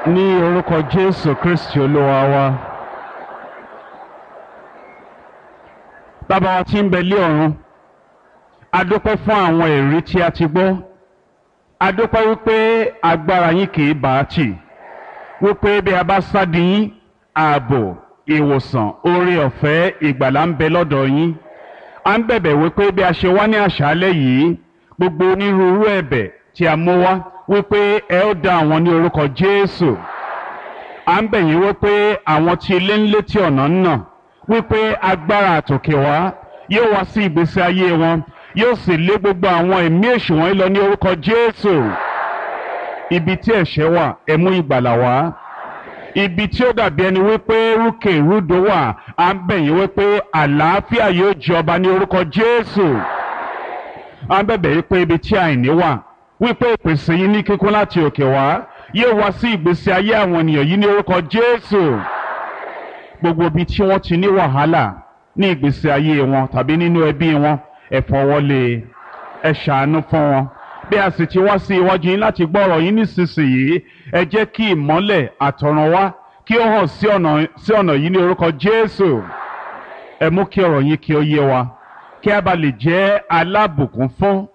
Ní orúkọ Jésù Kristi Olúwa wa. Bàbá wa tí ń bẹ lé ọ̀run, a dúpẹ́ fún àwọn ẹ̀rí tí a ti gbọ́. A dúpẹ́ wípé agbára yín kì í bá a tì, wípé bí a bá sádi yín, ààbò, ìwòsàn, oore ọ̀fẹ́, ìgbàlà ń bẹ lọ́dọ̀ yín. A ń bẹ̀bẹ̀ wípé bí a ṣe wá ní àṣálẹ́ yìí, gbogbo onírúurú ẹ̀bẹ̀ tí a mú wá, wípé ẹ ó dá àwọn ní orúkọ Jésù. À ń bẹ̀ yín wípé àwọn tí ilé ń létí ọ̀nà ń nà, wípé agbára àtòkè wá yóò wá sí ìgbésí ayé wọn, yóò sì lé gbogbo àwọn ẹ̀mí èṣù wọ̀nyí lọ ní orúkọ Jésù. Ibi tí ẹ̀ṣẹ̀ wà, ẹ mú ìgbàlà wá. Ibi tí ó dàbí ẹni wípé rúkè rúdò wà, à ń bẹ̀ yín wípé àlàáfíà yóò jọba ní orúkọ Jésù. À ń bẹ̀bẹ̀ wípé ibi tí àìní wà, wípé ìpèsè yín ní kíkún láti òkè wá yóò wá sí ìgbésí ayé àwọn ènìyàn yìí ní orúkọ Jésù. Gbogbo ibi tí wọ́n ti ní wàhálà ní ìgbésí ayé wọn tàbí nínú ẹbí wọn, ẹ fọwọ́lé, ẹ ṣàánú fún wọn. Bí a sì ti wá sí iwájú yín láti gbọ́ ọ̀rọ̀ yín nísinsìnyí, ẹ jẹ́ kí ìmọ́lẹ̀ àtọ̀run wá kí ó hàn sí ọ̀nà yìí ní orúkọ Jésù. Ẹ mú kí ọ̀rọ̀ yín kí ó yé wa, kí a bá lè jẹ́ alábùkún fún.